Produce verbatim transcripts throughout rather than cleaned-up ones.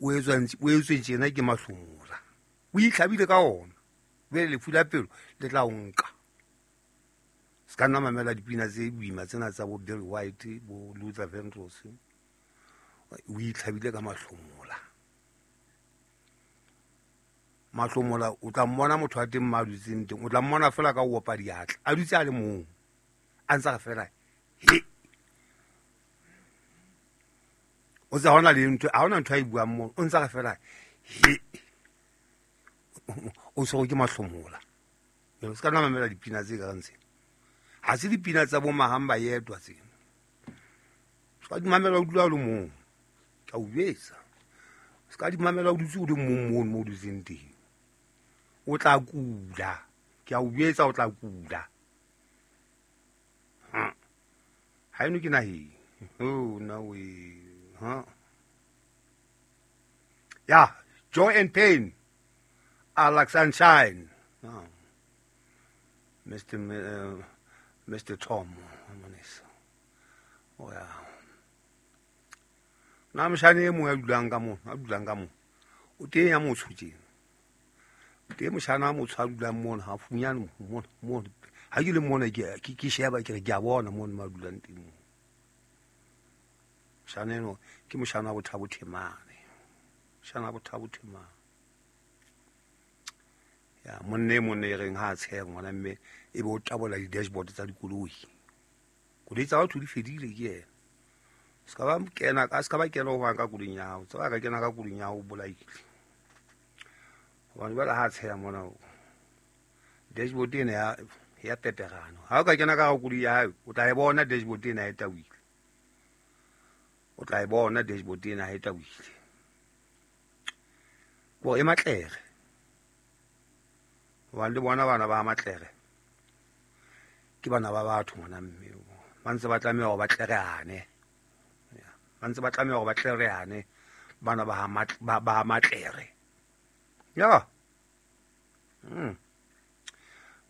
O etswa o etswe tjena ke mahlomola. O itlhabile ka ona. Jwale lefu la pelo le tla o nka. Se ka nna mamela dipina tse boima tsena tsa bo Barry White, bo Luther Vandross. O itlhabile ka mahlomola. Mahlomola o tla mmona motho a teng ma dutseng teng, o tla mmona fela ka o opa diatla. A dutse a le mong. A ntse a fela he. O tsa hona le ntho, ha hona ntho a e buang mo, o ntse a fela he. O tshwerwe ke mahlomola. Jwale se ka nna mamela dipina tse ka reng tsena. Ha se dipina tsa bo Mahamba yedwa tsena. Se ka di mamela o dula o le mong. Ke a o jwetsa. Se ka di mamela o dutse o le mong mono mo o dutseng teng. O tla kula. Ke a o jwetsa o tla kula. Ha. Ha eno ke naheng. Oh, na we. Ha. Ya, joy and pain are like sunshine. Oh. Mister Uh, Mister Tom, oh yeah. Na moshane e mong a dulang ka mo, a dulang ka mo. O teng ya motho tjena. O teng moshana a motho a dulang mona, ha funyane mona, mona. Ha ke le mona ke ke ke sheba ke re ke a bona mona ma dulang teng mo. Moshana eno ke moshana wa Bothabo Themane. Moshana wa Bothabo Themane. Ya monne e mong e reng ha a tsheha ngwana mme e be o tabola di-dashboard tsa dikoloi. Koloi tsa batho di fedile ke yena. Se ka ba kena ka se ka ba kena ho hang ka koloing ya hao. Tseba ka kena ka koloing ya hao o bolaile. Hobane jwale ha a tsheha mona o dashboard ena ya ya peperano. Ha o ka kena ka koloi ya hae o tla e bona dashboard ena e tawile. O tla e bona dashboard ena e tawile. Ko e matlere. Hobane le bona bana ba matlere ke bana ba batho ngwana mme ba ntse ba tlameha hore ba tlereane. Ba ntse ba tlameha hore ba tlereane bana ba ba ba matlere. Ya. Mm.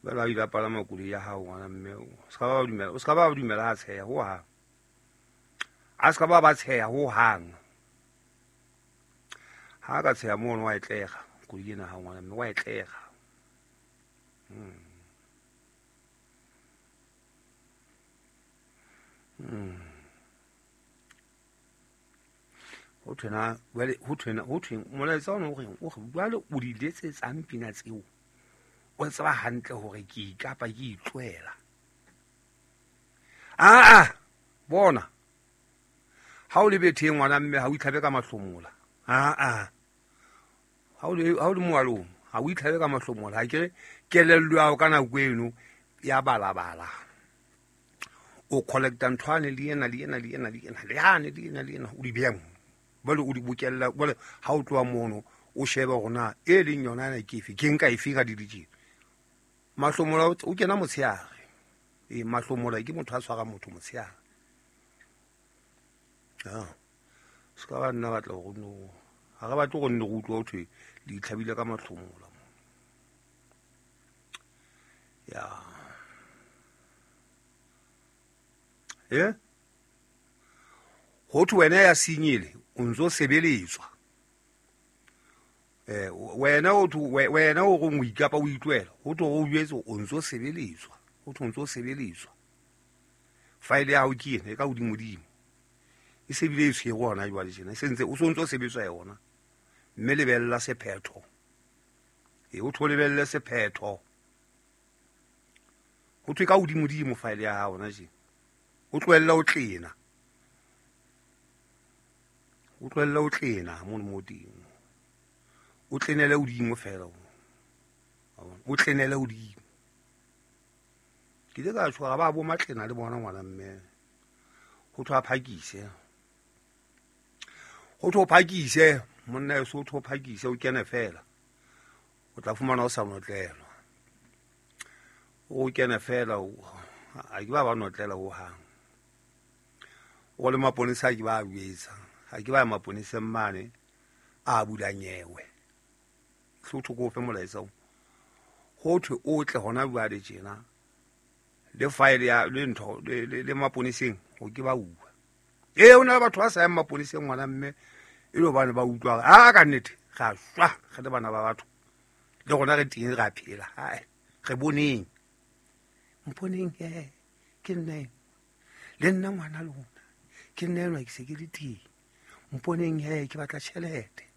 Ba la ila palama koloi ya hao ngwana mme o ska ba dumela, o ska ba dumela ha tsheha ho hang. A ska ba ba tsheha ho hang. Ha ka tsheha mono wa e tlega koloi ena ha ngwana mme wa e tlega. Mm. Mm. Ho thwena jwale ho thwena ho thweng molaetsa ona o reng o re jwale o di letsetsang pina tseo o tseba hantle hore ke ikapa ke itlohela. Ah ah bona ha o le betheng ngwana mme ha o itlhabe ka mahlomola. Ah ah ha o le ha o le moalong ha o itlhabe ka mahlomola. Ha ke re kelello ya hao ka nako eno ya balabala. O collecta nthwane le ena le ena le ena le ena le yane le ena le ena o di beha mo. Jwale o di bokella jwale ha o tloha mono o shebe hore na e leng yona ena ke efe ke nka efe ka di Mahlomola o kena motshehare. E mahlomola ke motho a tshwara motho motshehare. Ah. Se ka ba nna batla hore no ha re batle go nne go utlwa ho thwe le itlhabile ka mahlomola. Ya. Eh? Ho thwe wena ya senyele o ntso sebeletswa. Eh wena o thwe wena o reng o ikapa o itlohela, ho thwe o jwetse o ntso sebeletswa, ho thwe o ntso sebeletswa. File ya hao ke ena e ka hodimodimo. E se bile e tshwere hona jwale tjena, e sentse o so ntso sebetswa yona. Mme lebella sephetho. E o thwe lebelle sephetho. Ho thwe ka hodimodimo file ya hao hona tjena. O tlohella o tlena. O tlohella o tlena mono mo teng. O tlenele hodimo fela. O tlenele hodimo. Ke ile ka tshwara ba bo matlena le bona ngwana mme. Ho thwe a phakise. Ho thwe o phakise, monna eso o thwe o phakise o kene fela. O tla fumana o sa notlelwa. O kene fela o a ke ba ba notlela ho hang. O le maponesa ke ba jwetsa. Ha ke ba maponeseng mane a bula nyewe. Hlotho ko fe molaetsa o. Ho thwe o tle hona jwale tjena. Le file ya le ntho le le maponeseng ho ke ba uwa. Eh ona batho ba sa yang maponeseng ngwana mme E le hobane ba utlwa a ka nnete ra shwa re le bana ba batho le rona re teng ra phela. Hai re boneng mponeng he ke nna le nna ngwana lona ke nna enwa ke se ke le teng mponeng he ke batla tjhelete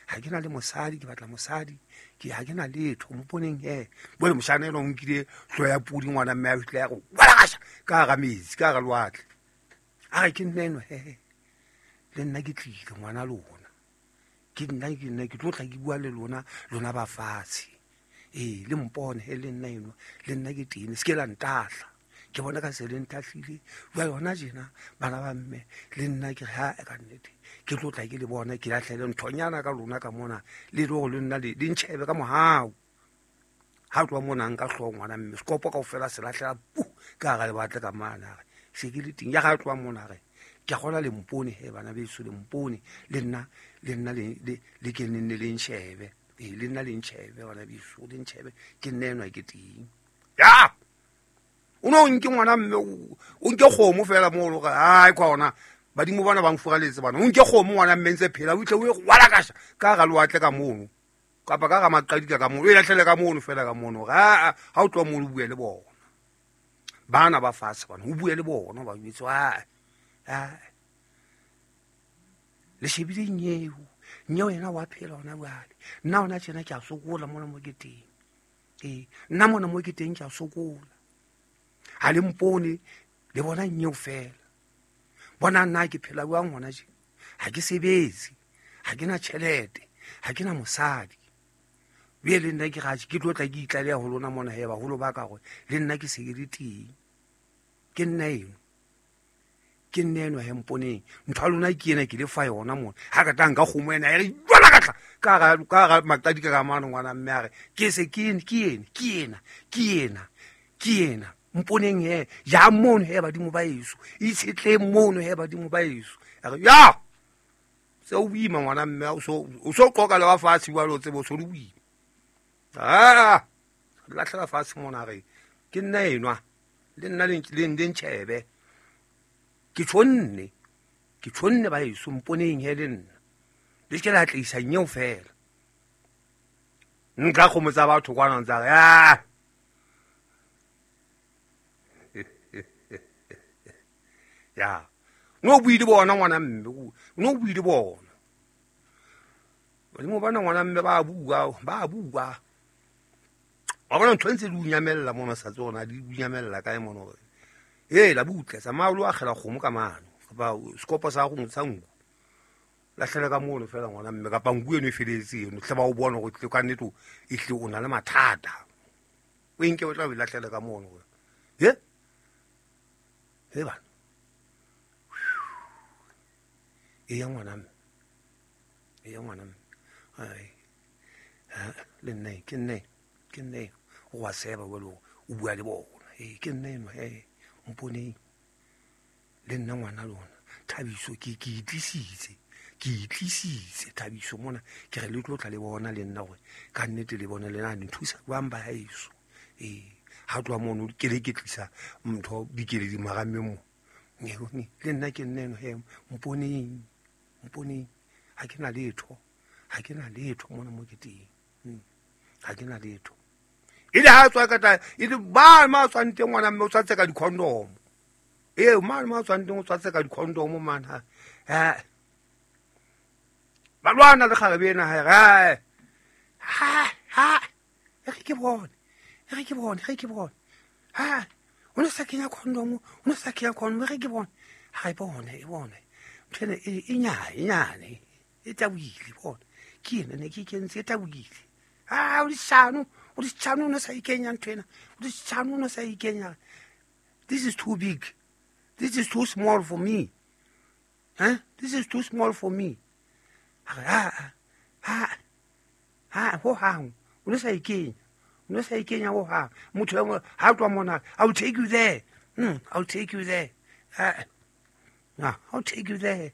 ha ke na le mosadi ke batla mosadi ke ha ke na letho mponeng he bole moshana eno o nkile hlo ya pudi ngwana mme a fihle ya go walakasha ka hara metsi ka hara lewatle a re ke nna enwa he le nna ke tlile ngwana lona ke nna ke nna ke tlo tla ke bua le lona lona ba fatshe ee le mpone he le nna enwa le nna ke teng se ke la ntahla ke bona ka se le ntahlile jwale hona tjena bana ba mme le nna ke re ha ka nnete ke tlo tla ke le bona ke lahlele nthonyana ka lona ka mona le le hore le nna le ntjhebe ka mohau ha tloha mona nka hlooho ngwana mme sekopo kaofela se lahlela pu ka hara lewatle ka mane a re se ke le teng ya ga tloha mona re ke a kgola le mpone he bana beso le mpone le nna le nna le le ke nne le ntjhebe ee le nna le ntjhebe bana beso le ntjhebe ke nna enwa ke teng ya o no nke ngwana mme o nke kgomo fela mo lo ai kwa ona badimo bana ba mfuraletse bana o nke kgomo ngwana mme ntse phela o itle o e walakasha ka hara lewatle ka mono kapa ka hara maqadika ka mono o e lahlele ka mono fela ka mono ha ha o tloha mono o bue le bona bana ba fatshe bana o bue le bona ba jwetse ha ha le shebile nyeo nyeo yena wa phela hona jwale nna hona tjena ke a sokola mona mo ke teng ee nna mona mo ke teng ke a sokola ha le mpone le bona nyeo fela bona nna ke phela jwang hona tje ha ke sebetse ha ke na tjhelete ha ke na mosadi bjale le nna ke gaje ke tlo tla ke itlaleha ho lona mona he baholo ba ka gore le nna ke se ke le teng ke nna eno ke nna eno he mponeng ntho ya lona ke ena ke le fa yona mona ha ka tla nka kgomo ena ya re jwala ka tla ka hara ka hara maqadika ka mane ngwana mme a re ke se ke ena ke ena ke ena ke ena ke ena mponeng he ja mono he badimo ba eso itshetleng mono he badimo ba eso a re ya se o boima ngwana mme o so o so qoka le wa fatshe jwale o tsebe o so le boima ah lahlela fatshe mona re ke nna enwa le nna le le ntjhebe ke tshonne ke tshonne ba eso mponeng he le nna le ke la tlisa nyeo fela nka kgomo tsa batho kwana ntsa re ah ya no bue le bona ngwana mme no bue le bona badimo bana ngwana mme ba bua ba bua wa bona ntho ntse di unyamella mona sa tsona di unyamella kae mona hore ee la butle tsamaya o lo akgela kgomo ka mano kapa sekopo sa go sa nku lahlela ka mono fela ngwana mme kapa nku eno e feletse eno tle ba o bona gore tle ka nnete e tle o na le mathata o enke o tla o lahlela ka mono he he bana e ya ngwana mme e ya ngwana mme ai le nna ke nna ke nna o wa seba welo o bua le bona ee ke nna eno he mponeng le nna ngwana lona Thabiso ke ke itlisitse ke itlisitse Thabiso mona ke re le tlo tla le bona le nna gore ka nnete le bona le na le nthusa jwang ba haeso ee ha tloha mono ke le ke tlisa ntho dikeledi marameng mo le nna ke nna eno he mponeng mponeng ha ke na letho ha ke na letho mona mo ke teng ha ke na letho e le ha tswa ka tla e le ba ma tswang teng ngwana mme o tswatse ka di-condom ee mane ma tswang teng o tswatse ka di-condom man ha ba lwana le kgarebe ena ha re ha ha e re ke bone e re ke bone re ke bone ha o ne sa kenya condom o ne sa kenya condom re ke bone ha e bone e bone ntho ena e e nyane e nyane e tabohile bone ke ena ne ke kentse e tabohile ha o leshano o leshano o ne sa ikenya ntho ena o leshano o ne sa ikenya this is too big this is too small for me huh this is too small for me ha ha ha ho hang o ne sa ikenya o ne sa ikenya ho hang motho ha tloha mona I will take you there mm, I will take you there ah uh, I'll take you there